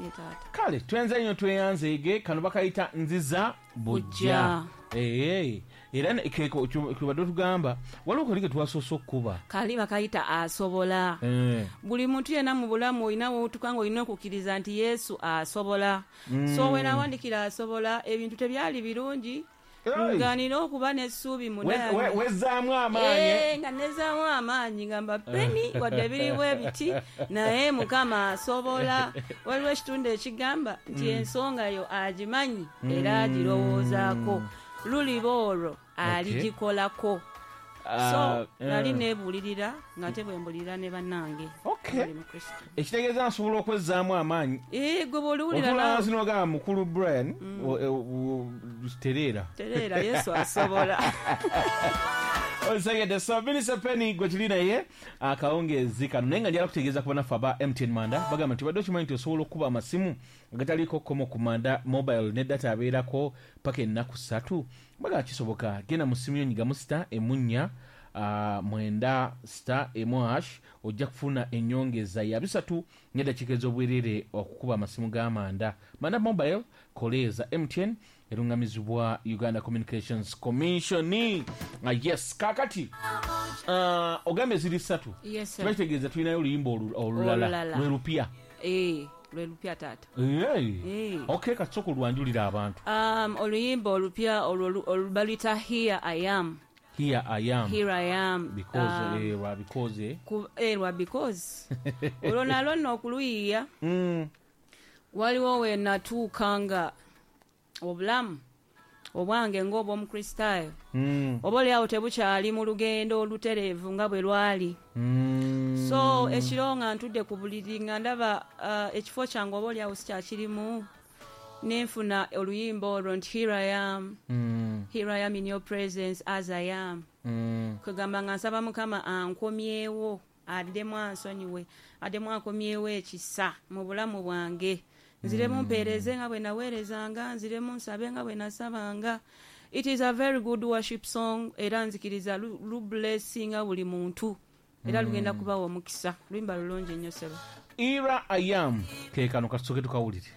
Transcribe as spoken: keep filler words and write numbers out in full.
Ye taata. Kale twenze nnyo, tweyanzeege. Kano bakayita Nziza Bujja. Ee, era ne- keko kibadde otugamba waliwo kali ke twasoose okukuba. Kali bakayita Asobola. Eh. Buli muntu yenna mu bulamu olina wootuka nga olina okukkiriza nti Yesu asobola. So we nawandikira Asobola, ebintu tebyali birungi. Hey. Nga nina okuba n'essuubi We- munda. we- wezzaamu amaanyi. Eh, nga nezaamu amaanyi, ngamba Peni, wadde biriwo ebiti, naye Mukama asobola. Waliwo ekitundu ekigamba nti ensonga yo agimanyi era agirowoozaako, luliba olwo aligikolako. So Ah, nali eh. neebuulirira nga te bwe mbulirira ne bannange Okay. abali mu Kristo. Ekitegeeza nsobola okwezzaamu amaanyi. Eh, gwe bw'oliwulira Otula naawe wansi n'ogamba, mukulu Brian, o- e- o- tereera. Tereera, Yesu asobola. Osegedde. So Minisita Penny gwe tuli naye akawungeezi kano, naye nga njala kutegeeza ku banaffe aba M T N Manda. Bagamba nti badde okimanyi nti osobola okukuba amasimu agataliiko kkomo ku Manda Mobile ne data abeerako paka ennaku ssatu? Bagamba kisoboka. Genda mu simu yo, nyigamu star emu nnya ah, mwenda star emu hash, ojja kufuna ennyongeza ya bisatu n'eddakiika ez'obwerere okukuba amasimu ga Manda. Manda Mobile, koleeza M T N, erungamizibwa Uganda Communications Commission. Ah, yes, kakati uh, ogambye ziri ssatu. Yes, sir. Kiba kitegeeza tulinayo oluyimba olu- olulala. Olulala. Lwe lupya? Eh, lwe lupya, taata. Hey. Eh. Okay, katusooka olwanjulira abantu. um, oluyimba olupya olwo lu- olwo baluyita Here I Am. Here I Am. Here I Am. Because Um, eh, lwa because eh. ku- eh, lwa because olwo nalwo nno okuluyiiya, mm. waliwo we natuuka nga obulamu obwange ng'obwomukristaayo Mm. oba oliawo tebukyali mu lugendo olutereevu nga bwe lwali. Mm. So ekiro nga ntudde ku buliri nga ndaba uh, ekifo kyange oba oliawo sikyakirimu, nenfuna oluyimba olwo nti "Here I am, Mm. here I am in your presence as I am." Mm. Kwegamba nga nsaba Mukama ankomyewo, addemu ansonyiwe, addemu ankomyewo ekisa mu bulamu bwange, nziremu mpeereze nga bwe naweerezanga, nziremu nsabe nga bwe nasabanga. It is a very good worship song, era nzikiriza lu- lublessinga buli muntu era lugenda kubawa omukisa. Luyimba lulungi nnyo, ssebo. Here I Am ke kano, katusooke tukawulire.